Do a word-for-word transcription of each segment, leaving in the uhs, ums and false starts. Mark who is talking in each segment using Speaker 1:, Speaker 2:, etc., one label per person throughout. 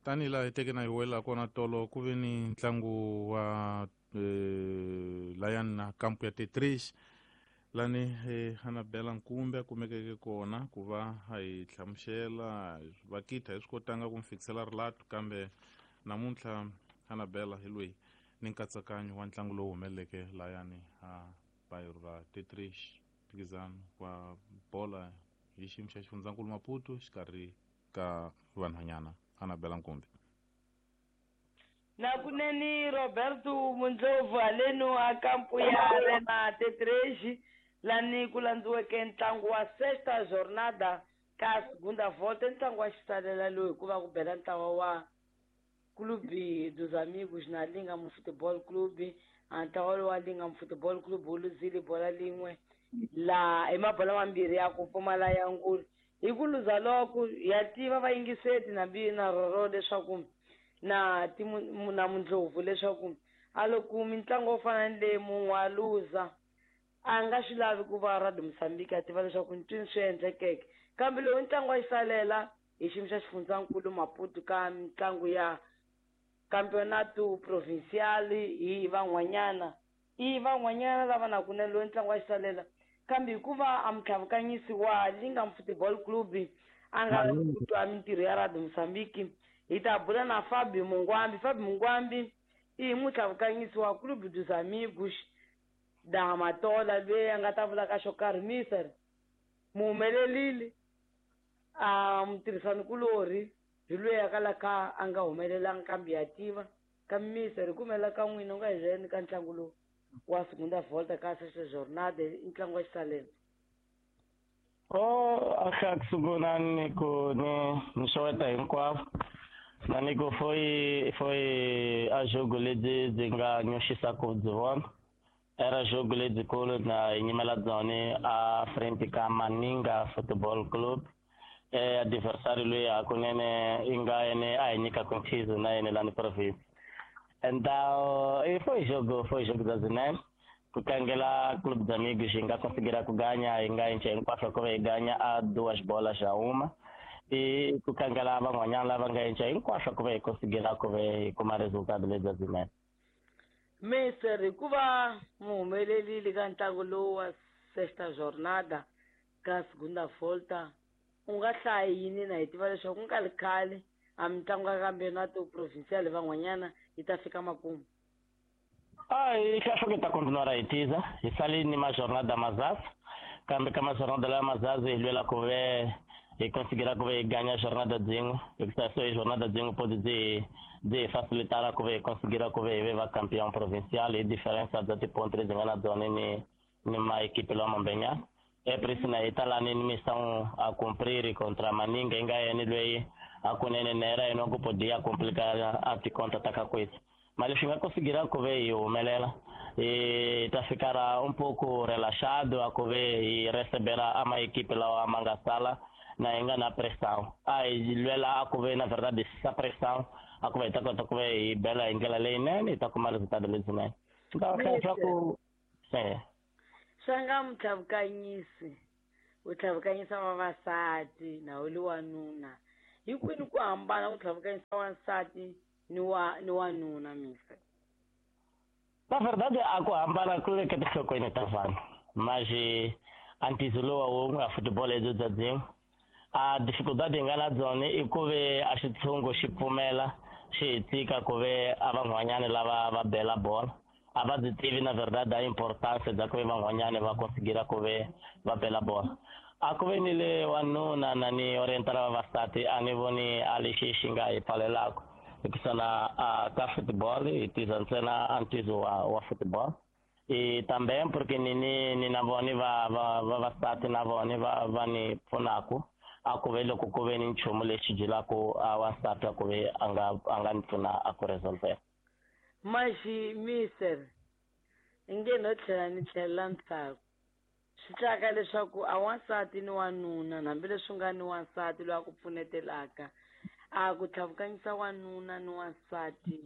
Speaker 1: Tanihi laha hi teke na hi wela kona tolo ku ve ni ntlangu wa eh, layani na kampu ya Tetris lani eh, Anabela Nkumbe a kumekeke kona ku va a hi hlamusela vakita hi swi kotanga ku mi fikisela rilato kambe namuntlha Anabela hi loyi ni nkatsakanyo wa ntlangu lowu humeleleke layani a bayiro ra Tetris mphikizano wa bola hi xiyimo xa xifundzankulu Maputo xikarhi ka vanhwanyana. Anabela Nkumbi.
Speaker 2: Nakunene Roberto Mundlovu haleno a kampu ya Arena Tetreji lani ku landziweke ntlangu wa sexta jornada ka segunda volta, ntlangu wa xisalela lowu hikuva ku bela ntlawa wa Clube dos Amigos na Lingam Football Club. A ntlawa lowu wa Lingam Football Club wu luzile bola lin'we la hi mabola mambirhi ya ku pfumala ya ngulu. Hi ku luza loko ya tiva vayingiseti na na roro leswaku na timu na Mundlovu leswaku a loko mitlangu yo fana ni leyi munhu a luza a nga swi lavi ku va Radio Mozambique a tiva leswaku ntwini swi endlekeke. Kambe lowu ntlangu wa xisalela hi xiyimo xa xifundzankulu Maputo ka mitlangu ya Campeonato Provincial hi van'wanyana i van'wanyana lava na kunene lowu ntlangu wa xisalela, kambe hikuva a mutlhavukanyisi wa Lingam Football Club a nga lavi ku twa mintirho ya Radio Mozambique, hi ta bula na Fabio Mungwambi. Fabio Mungwambi i mutlhavukanyisi wa Clube dos Amigos da Matola loyi a nga ta vula ka xo karhi. Mister muhumelelile a mutirhisanikulorhi hi loyi a kalaka a nga humelelanga kambe ya tiva kambe mister hi ku humelela ka n'wina u nga hi byela ka ntlangu lowu wa segunda volta ka sexta jornada i ntlangu wa xisalela.
Speaker 3: Oh, a xa ku sungula ni ku ni ni xeweta hinkwavo na ni ku foi foi a jogo lebyi byi nga nyoxisa ku byi vona era jogo lebyikulu na hi nyimela byona a frente ka Maninga Football Club, eh adversário loyi hakunene i nga yene a hi nyikaka nkhizo na yene lani province. Então e foi jogo foi jogo da Zinene ku tlangela Clube dos Amigos hi nga conseguir ku ganha hi nga enche hinkwaswo ku va hi ganha a duas bolas a uma e ku tlangela van'wanyana lava nga enche hinkwaswo ku va hi conseguir ku va hi kuma resultado lebyi Zinene.
Speaker 2: Mister hikuva muhumelelile ka ntlangu lowu wa sexta jornada ka segunda volta u nga hlaya yini na hi tiva leswaku ku nga ri khale a mitlangu ya Campeonato Provincial van'wanyana yi ta fika makumu?
Speaker 3: A hi hleketa continuar hi tiza hi sali ni majornada mazazi kambe ka majornada laya mazazi hi lwela ku ve hi conseguir ku ve hi ganha jornada byin'we hikuva so hi jornada byin'we podi byi byi hi facilitara ku ve hi conseguir ku ve hi ve va campeão provincial hi diferença bya tiponto lebyi nga na byona ni ni maequipe lawa mambenyana. É por isso na italani ni missão a cumprir contra Maninga inga yena loyi hakunene na era yena ku podia complicar a ticonta ta ka coisa. Mas leswi nga conseguir ku ve hi humelela hi ta ficar um pouco relaxado a ku ve hi recebera a maequipe lawa ma nga sala na hi nga na pressão. A hi lwela a ku ve na verdade essa pressão a ku ve hi ta kota ku ve hi bela hi ndlela leyinene hi ta kuma resultado lebyinene. Então leswaku se
Speaker 2: swa nga mutlhavukanyisi u tlhavukanyisa vavasati na u li wanuna hinkwenu ku hambana ku tlhavukanyisa wansati ni wa ni wanuna mister?
Speaker 3: Na verdade a ku hambana ku le ka tinhlokweni ta vanhu mas a ntiyiso lowa wun'we a football lebyi bya byin'we a dificuldade hi nga na byona i ku ve a xitshungu xi pfumela xi hi tshika ku ve a van'wanyana lava va bela bola a va byi tivi na verdade a importance bya ku ve van'wanyana va conseguir ku ve va bela bola. A ku ve ni le wanuna na ni orientala vavasati a ni voni a lexi xi nga hi pfalelaka hikusa na a ka football hi tiza ntsena a ntizo wa wa football e também porque ni ni ni na vona va va vavasati na vona va va ni pfunaku a ku ve loko ku ve ni nchumu lexi byelaku a wansati a ku ve a nga a nga ni pfuna a ku resolver.
Speaker 2: Maxi mister inge no tlhela ni tlhelela ndzhaku swi tlaka leswaku a wansati ni wanuna hambileswi nga ni wansati loyi a ku pfunetelaka a ku tlhavukanyisa wanuna ni wansati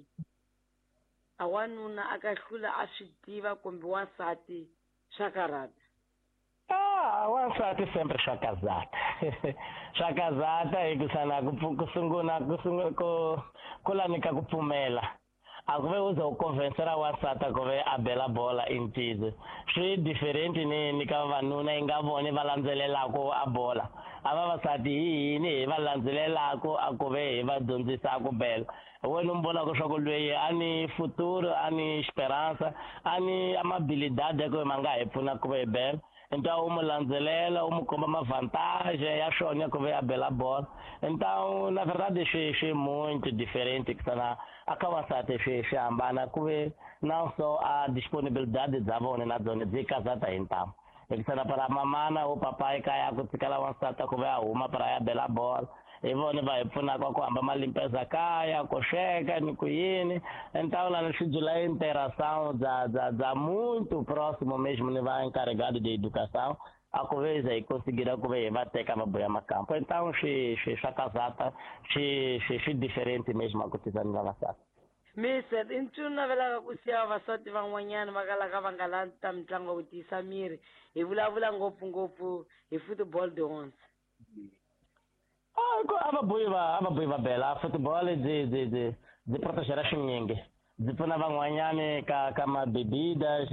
Speaker 2: a wanuna a ka hlula a swi tiva kumbe wansati swa karhata.
Speaker 3: Ah, wansati sempre swa kazata. Swa kazata hi ku sana ku ku sungula ku sungula ku ku lanika ku pfumela. A ku ve u ze u convincera wansati ku ve a bela bola i ntiyiso. Swi different ni ni ka vavanuna yi nga voni va landzelelaka a bola. A vavasati hi hini hi va landzelelaka a ku ve hi va dyondzisa ku bela. Wena u mi vonaka swa ku lweyi a ni futuro, a ni esperanza, a ni amabilidade ya ku ma nga hi pfuna ku ve hi bela. Então u mu landzelela, u mu komba mavantage ya swona ya ku ve a bela bola. Então na verdade swi swi muito diferente ku sana a ka wansati swi swi hambana ku ve não só a disponibilidade bya vona na byona byi kazata hi ntamu. Hikuva para mamana o papai kaya ku tshikela wansati ku ve a huma para ya bela bola. Hi vona va hi pfunaka ku hamba malimpeza kaya, ku sweka ni ku yini. Então lá swi dzula interação bya bya bya muito próximo mesmo ni va encarregado de educação a ku ve hi conseguir ku ve hi va teka va buya makampo. Então swi swi swa kazata swi swi swi diferente mesmo a ku tisa ni vavasati.
Speaker 2: Mister, i nchumu navelaka ku siya vavasati van'wanyana va kalaka va nga landzi ta mitlangu ya ku tiyisa miri. Hi vulavula ngopfungopfu hi football de onze.
Speaker 3: Ah, a va buyi va a va buyi va bela football byi byi byi byi protegera swinyingi. Byi pfuna van'wanyani ka ka mabebida,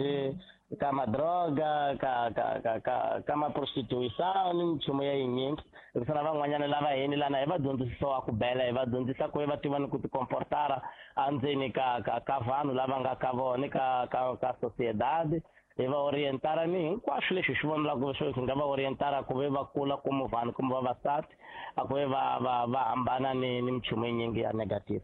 Speaker 3: ka madroga, ka ka ka ka ka maprostituição ni minchumu ya yinyingi. Hikuva van'wanyana lava hini lana hi va dyondzisiwa ku bela, hi va dyondzisa ku va tiva ni ku tikomportara endzeni ka ka ka vanhu lava nga ka vona ka ka ka sociedade. Hi va orientara ni hinkwaswo leswi hi swi vonelaka swi nga va orientara ku ve va kula como vanhu kumbe vavasati, a ku ve va va va hambana ni ni minchumu yinyingi ya negative.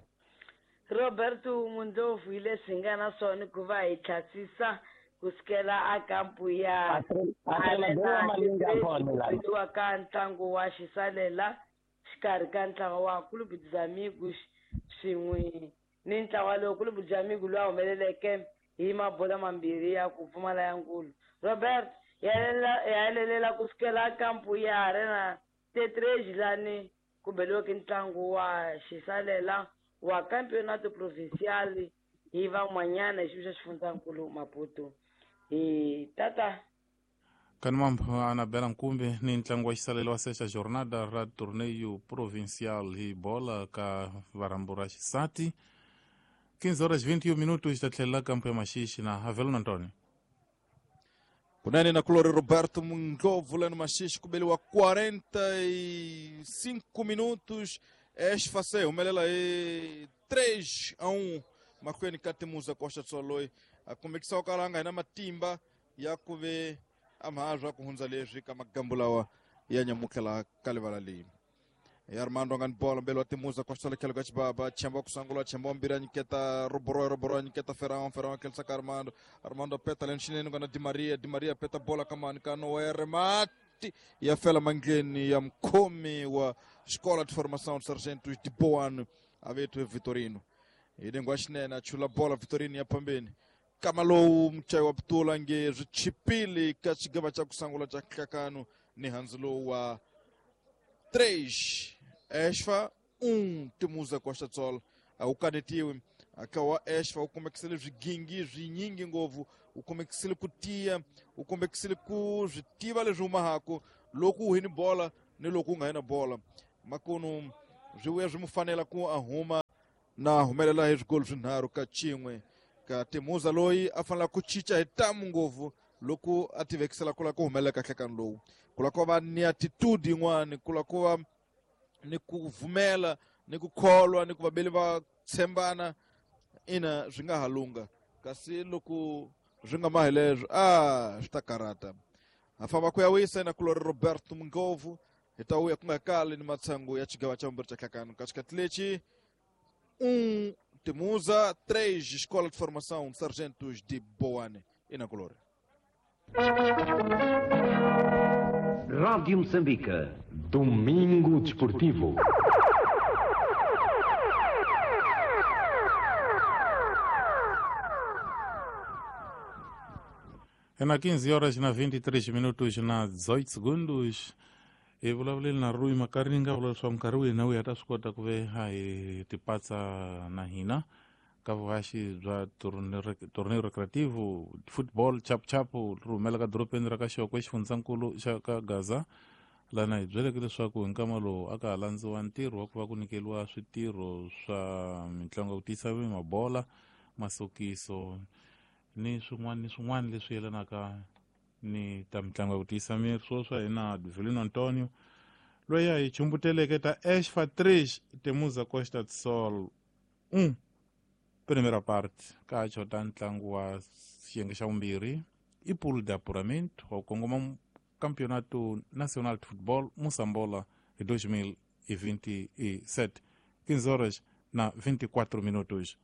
Speaker 2: Roberto Mundlovu hi leswi hi nga na swona ku va hi tlhasisa ku sukela a kampu ya Arena ka ntlangu wa xisalela xikarhi ka ntlawa wa Clube dos Amigos swin'we ni ntlawa lowu Clube dos Amigos lowu humeleleke hi mabola mambirhi ya ku pfumala ya nkulu. Robert ya helelela ku sukela kampu ya Arena Tetrej lani ku beliweke ntlangu wa xisalela wa Campeonato Provincial hi van'wanyana hi xiviko xa xifundzankulu Maputo. Hi tata
Speaker 1: Kanimambo Anabela Nkumbi ni ntlangu wa xisalelo wa sexta jornada ra Torneio Provincial hi bola ka varambu ra xisati. quinze horas vinte e um minutos ta tlhelela kampo ya Maxixi na Avelino Antônio.
Speaker 4: Kunene na kulori Roberto Mundlovu lá no Maxixi kubeliwa quarenta e cinco minutos. Esfacei, humelela aí três a um. Makwenu ka Timuza Costa Tsoloi. A kumekisa okalanga ina matimba ya kuve amahazwa kuhunza leswi ka magambu lawa ya nyamukela kalivala leyi. Ya Armando ngani bola mbele wa Timuza Costa Tsoloi ka chibaba chamba kusangula chamba mbira nyiketa Roboro Roboro nyiketa Ferran Ferran kelsa ka Armando Armando peta lenshini ngana Di Maria Di Maria peta bola kama nikano remati ya fela mangeni ya mkomi wa Escola de Formação de Sargentos de Boano avetwe Vitorino. Idengwa xinene a chula bola Vitorino ya pambeni. Kama lowu mchayi wa Putula nge swichipili ka xigava xa ku sungula xa nhlakano ni handzu lowu wa três Esfa um Timuza Costa Tsol. A wu kanetiwi aka wa Esfa u kumekisile swigingi swinyingi ngopfu, u kumekisile ku tiya, u kumekisile ku swi tiva leswi humahako loko u hini bola ni loko u nga hina bola. Makunu swi vuya swi mu fanela ku a huma na humelela hi swigolo swinharhu ka xin'we ka Timuza loyi a fanela ku cinca hi tamu ngopfu loko a tivekisela ku lava ku humelela ka nhlekano lowu, ku lava ku va ni attitude yin'wani, ku lava ku va ni ku vumela ni ku kholwa ni ku vabeli va tshembana, ina swi nga ha lungha. Kasi loko swi nga mahi leswo a swi ta karata. Ha famba ku ya wisa na kulori Roberto Mundlovu hi ta vuya ku nga kali ni matshangu ya xigava xa vumbirhi xa nhlakano ka xikati lexi. Um Timuza, três Escola de Formação de Sargentos de Boane e na Colore.
Speaker 5: Rádio Moçambique, Domingo Desportivo.
Speaker 1: É na quinze horas na vinte e três minutos na dezoito segundos. Hi vulavuleni na Rui Makaringa vula leswaku nkarhi wihi na wihi a ta swi kota ku ve a hi tipatsa na hina Ka vuhaxi bya torneo recreativo football chapuchapu ri humela ka dorobeni ra ka Xokwe xifundzankulu xa ka Gaza lana hi byeleke leswaku hi nkama lowu a ka ha landziwa ntirho wa ku va ku nyikeliwa switirho swa mitlangu ya ku tiyisa mabola masokiso ni swin'wana ni swin'wana leswi yelanaka ni ta mitlangu ya ku tiyisa miri swo swa hina Vilino Antonio loyi a hi chumbuteleke ta Esfa três Temuza Costa do Sol um primeira parte ka xota ntlangu wa xiyenge xa vumbirhi i pool de apuramento wa ku kongoma Campeonato Nacional de Futebol Moçambola de dois mil e vinte e sete, quinze horas na vinte e quatro minutos.